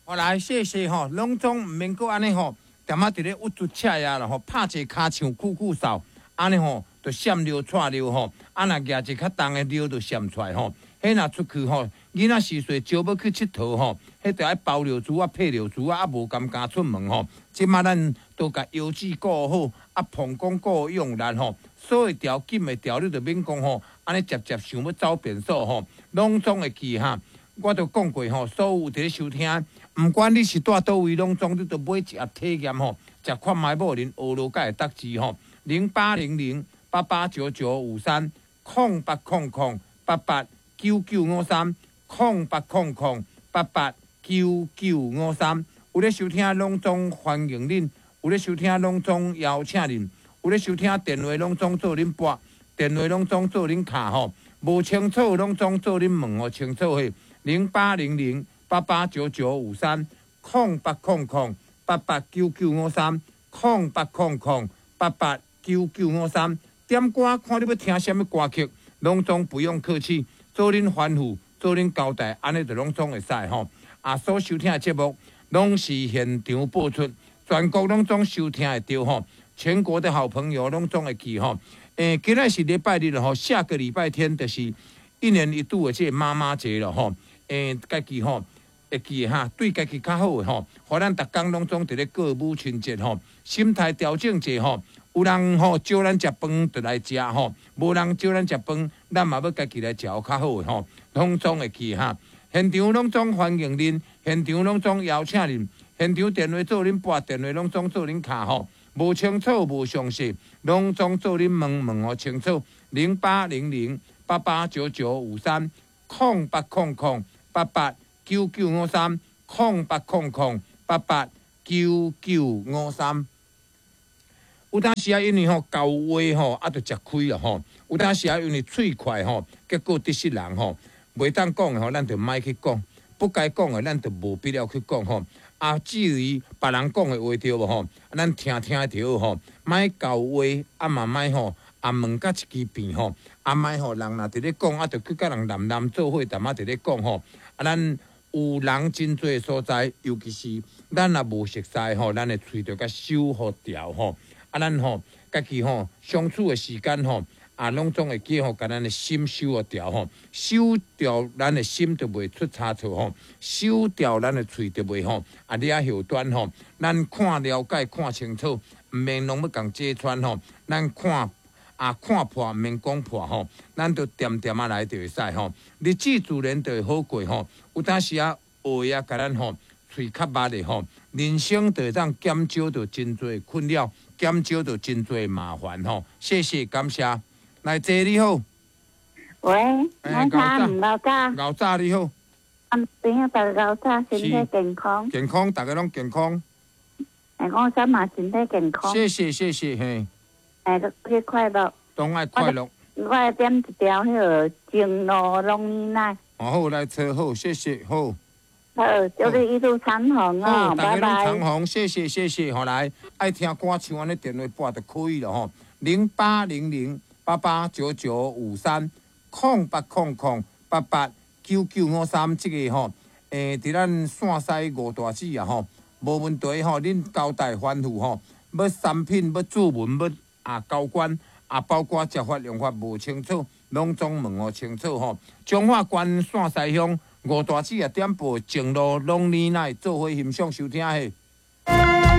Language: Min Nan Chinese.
好來，謝謝吼，攏總毋免閣按呢吼，踮仔佇咧鬱卒赤呀啦吼，拍一个跤像久久掃，按呢吼，就閃尿掣尿吼，啊若舉一個較重的尿就閃出來吼。彼若出去吼，囡仔時歲招欲去𨑨迌吼，彼著愛包尿珠仔、配尿珠仔，啊無甘敢出門吼。這馬咱都共腰子顧好，啊膀胱顧用力吼，鎖會牢、緊會牢，你就免講吼，按呢捷捷想欲走便所吼，攏總會記哈。我都講過吼，所有佇咧收聽，毋管你是蹛佗位，攏總你都買一盒體驗吼，食看覓某恁學落才會得知吼。0800889953，0800889953，0800889953。有咧收聽，攏總歡迎恁；有咧收聽，攏總邀請恁；有咧收聽電話，攏總做恁撥，電話攏總做恁敲吼。無清楚，攏總做恁問予清楚嘿。0800889953，0800889953，0800889953。點歌，看你欲聽啥物歌曲，攏總不用客氣，做恁吩咐，做恁交代，按呢就攏總會使吼。啊，所收聽的節目攏是現場播出，全國攏總收聽會著吼。全國的好朋友攏總會記吼。今仔是禮拜日吼，下個禮拜天就是一年一度的這個媽媽節了吼。家己吼會記哈，對家己較好的吼，予咱逐工攏總佇咧過母親節吼，心態調整者吼。有人吼招咱食飯就來食吼，無人招咱食飯，咱嘛欲家己來食較好的吼，攏總會記哈。現場攏總歡迎恁，現場攏總邀請恁，現場電話做恁撥，電話攏總做恁敲吼。無清楚無詳細，攏總做恁問問予清楚。0800889953，0800889953，0800889953。有當時啊，因為吼講話吼啊，就食虧啦吼。有當時啊，因為喙快吼，結果得失人吼，袂當講的吼，咱就莫去講；不該講的，咱就無必要去講吼。啊，至於別人講的話對無吼，咱聽聽就好吼。莫講話，啊嘛莫吼，啊問甲一支病吼，啊莫吼人若佇咧講，啊就去佮人喃喃做伙，淡仔佇咧講吼。啊，咱有人真濟所在，尤其是咱若無熟似吼，咱的喙就共守予牢吼。啊，咱吼家己吼相處的時間吼，啊，攏總會記吼，共咱的心守予牢吼，守牢咱的心就袂出差錯吼，守牢咱的喙就袂吼，啊，惹後端吼，咱看了解看清楚，毋免攏欲共揭穿吼，咱看啊看破毋免講破吼，咱就恬恬仔來就會使吼，日子自然就會好過吼。有當時啊，話啊，共咱吼喙較密的吼，人生就會當減少著真濟困擾，減少著真濟麻煩吼。謝謝感謝，來坐你好。喂，我早吳老早。老早你好。啊，朋友大家老早身體健康。健康，大家攏健康。哎，我想嘛身體健康。謝謝謝謝嘿。哎，去快樂。當愛快樂。我愛點一條彼個情路龍奶。哦好，來坐好，謝謝好。好，祝你一路長虹哦，拜拜。長虹，謝謝謝謝，好來，愛聽歌唱按呢電話撥就可以了吼，0800889953，0800889953，這個吼，佇咱線西吳大姊啊吼，無問題吼，恁交代吩咐吼，欲產品欲注文欲啊交關啊，包括食法用法無清楚，攏總問予清楚吼。彰化縣線西鄉吳大姊啊，點播情路攏奶奶做伙欣賞收聽嘿。